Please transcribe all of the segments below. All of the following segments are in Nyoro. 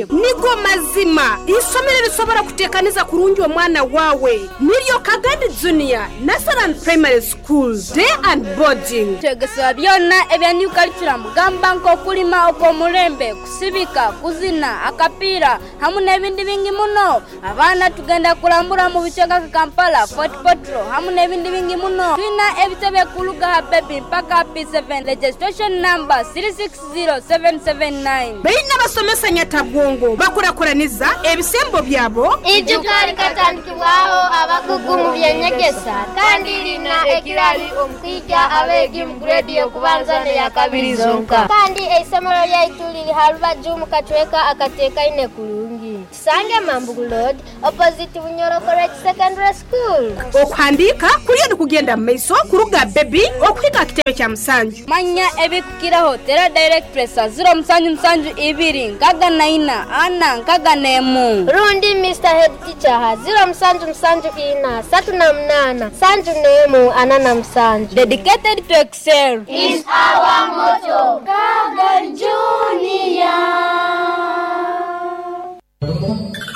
Nigo mazima, isomero erisobora kutekaniza kurungi omwana wawe niryo Kagadi Junior Nursery and Primary School Day and Boarding. Twegesebwa byona ebya New Curriculum gamba nk'okulima okw'omulembe, kusibika, kuzina, akapiira hamu n'ebindi bingi muno. Abaana tugenda kulambura mu bicweka nka Kampala, Fort Portal hamu n'ebindi bingi muno. Twina ebitebe kuluga ha Baby mpaka ha P7, Registration number 360779. Baine abasomesa nyatabwongo bakurakuraniza ebisembo byabo. Ijuka likatandikibwaho abakugu mu by'enyegesa kandi lina ekirali omu kwikya abeegi mu grade y'okubanza n'eyakabiri zonka. Kandi eisomero lyaitu liri ha rubaju mu kacweka akatekaine kurungi. Tusange Mambugu Road opposite Bunyoro College Secondary School. Okuhandiika kuriyo nikugenda mu maiso kuruga Baby okuhika aha kitebe kya Musanju. Manya ebikukiraho tera direct presa 0772 64 461. Rundi Mister Head Teacher ha 0774 38 71 47. Dedicated to excel is our motto. Kagan Junior.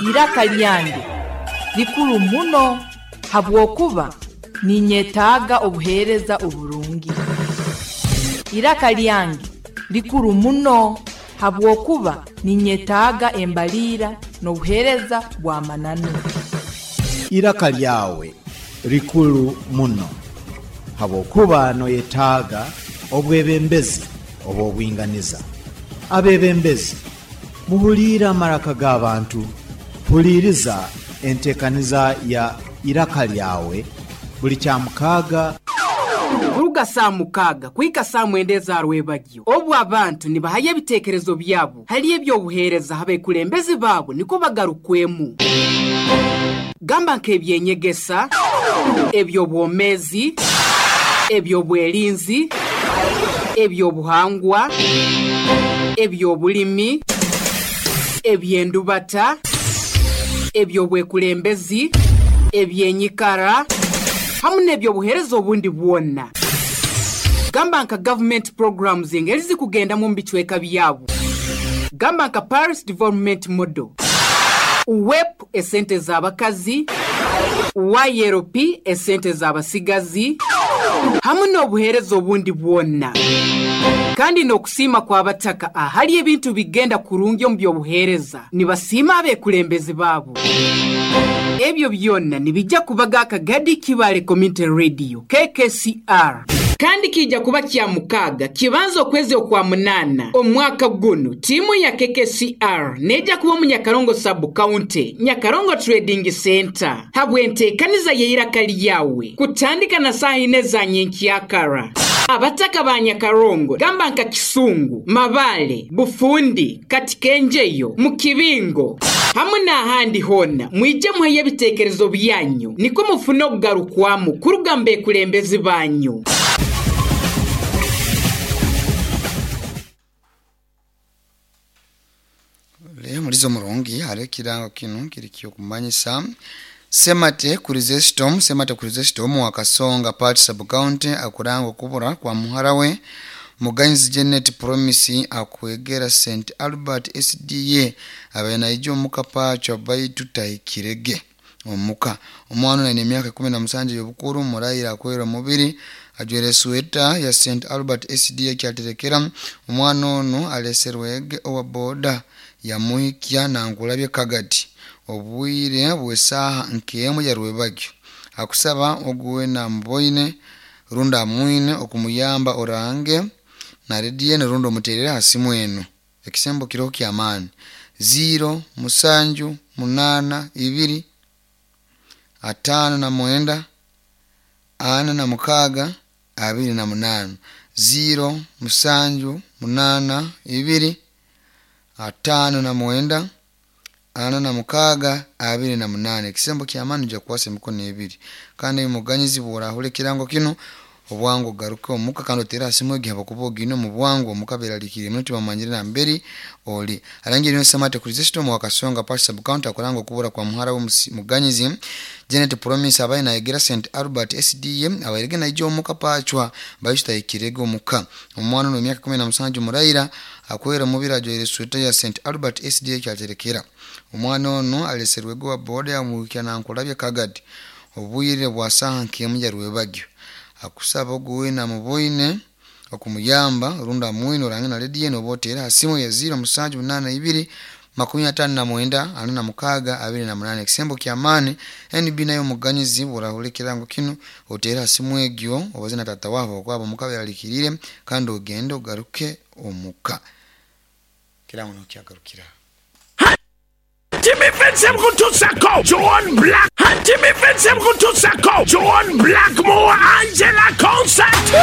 Iraka lyange likuru muno habwokuba ninyetaaga obuheereza oburungi. Iraka lyange likuru muno habwokuba ninyetaaga embaliira n'obuheereza bw'amananu. Iraka lyawe likuru muno habwokuba noyetaaga obwebembezi obw'obwinganiza. Abebembezi, muhuliire amaraka g'abantu. Huliiriza enteekaniza ya Iraka Lyawe buli Kyamukaaga. Kuruga saaha mukaaga kuhika saaha mwenda eza rwebagyo, obu abantu nibahayo ebiteekerezo byabo hali eby'obuheereza ha bekulembezi baabo nikwo bagarukwemu. Gamba nk'ebyenyegesa, eby'obwomeezi, eby'obwerinzi, eby'obuhangwa, eby'obulimi, eby'endubata, eby'obwekulembezi, ebyenyikara, hamu n'eby'obuheereza obundi bwona. Gamba nka gavumenti programs engeri zikugendamu omu bicweka byabo. Gamba nka Parish Development Model, WEP esente z'abakazi, YLP esente z'abasigazi, hamu n'obuheereza obundi bwona. Kandi n'okusiima kw'abataka ahali ebintu bigenda kurungi omu by'obuheereza, nibasiima abekulembezi baabo. Ebyo byona nibijja kubaga Akagadi Kibale Community Radio, KKCR. Kandi kiija kuba Kyamukaaga kibanza okwezi okwa munaana omwaka gunu, tiimu ya KKCR neija kuba omu Nyakarongo Sub County, Nyakarongo Trading Centre, habw'enteekaniza y'eiraka lyawe kutandika na saaha ina eza nyenkyakara. Abataka ba Nyakarongo gamba nka Kisungu, Mabale, Bufundi, Katikenjeyo, Mukibingo hamu n'ahandi hoona, mwije muheyo ebiteekerezo byanyu nikwo mufune okugarukwamu kuruga mu bekulembezi banyu. Mulizo murungi hariho ekirango kinu kiri ky'okumanyisa Semate Chrysostom. Semate Chrysostom wa Kasonga Part Sub County akuranga okubura kwa muhara we Muganyizi Janet Promise akwegera St Albert SDA abaire naija omuka paachwa baitu tahikirege omuka. Omwana onu aine emyaka 17 ey'obukuru, muraire akwera omubiri, ajwaire esweta ya St Albert SDA kyaterekera. Omwana onu aleserwege owa boda yamuhikya Nankulabye Kagadi obwire bw'esaaha nk'emu ya rwebagyo. Akusaba ogu weena amuboine rundi amwine okumuyamba orange na rediyo enu rundi omuteerere ha simu enu. Ekisembo kiroho ky'amaani 0 7 8 2 59 46 28 0 7 8 2 59 46 28. Ekisembo ky'amaani nija kukwasa emikono ebiri. Kandi muganyizi bw'orahurra ekirango kinu obwangu ogaruke omuka kandi oteere ha simu egi habwokuba ogiine omu bwangu omuka beeraliikiriire muno tibamanyire nambere oli. Arangire niwe Semate Chrysostom wa Kasonga Part Sub County akuranga okubura kwa muhara we Muganyizi Janet Promise abaire nayegera St Albert SDA abairege naija omuka paachwa baitu tahikirege omuka. Omwana onu w'emyaka 17 muraira Akwera omubiri ajwaire esweta ya St Albert SDA kyaterekera. Omwana onu aleserwege wa boda yamuhikya Nankulabye Kagadi obwire bwa saaha nk'emu ya rwebagyo. Akusaba ogu weena amuboine okumuyamba rundi amwine orange na rediyo enu oba oteere ha simu ya 0782 59 46 28. Ekisembo ky'amaani NB nayo omuganyizi bw'orahurra ekirango kinu oteere ha simu egyo obaze na taata waabo okwabo omuka beralikiriire kandi ogende ogaruke omuka. Ekirango niho kyagarukira. Jimmy Vincent Kutusako, John Black, Jimmy Vincent Kutusako, John Blackmore, Angela Concert.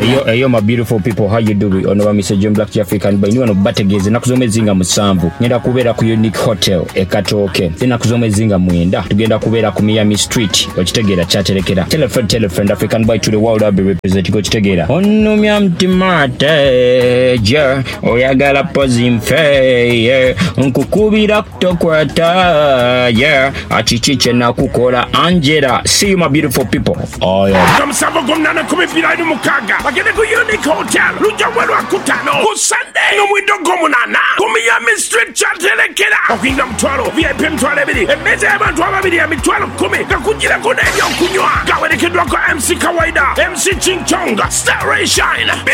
Eyo eyo my beautiful people, how you doing? Ono ba Mr. John Black African by wano bategeeze ennaku z'omwezi nga 7 ngenda kubeera ku Unique Hotel e Katooke. Ennaku z'omwezi nga 9 tugenda kubeera ku Miami Street, okitegeera kyaterekera. Tell a friend, tell a friend, African boy to the world, I'll be representing, okitegeera. Onumya mtima teje, oyagala pozi nfe, yeah. Nkukubira kutokwata, yeah. Akiki kye nakukola Angela. See you my beautiful people. Oh yeah. Nga 7 gw'omunaana 2026 bagende ku Unique Hotel lujja bwe lwakutaano ku Sunday n'omwendo gw'omunaana ku Miami Street kyaterekera. Okuyingira 5,000, VIP 20,000, emmeeza y'abantu ababiri ya 10,000 nga kugirako n'ebyokunywa. Gawerekeddwako MC Kawaida, MC Ching Chong, Star Ray Shine,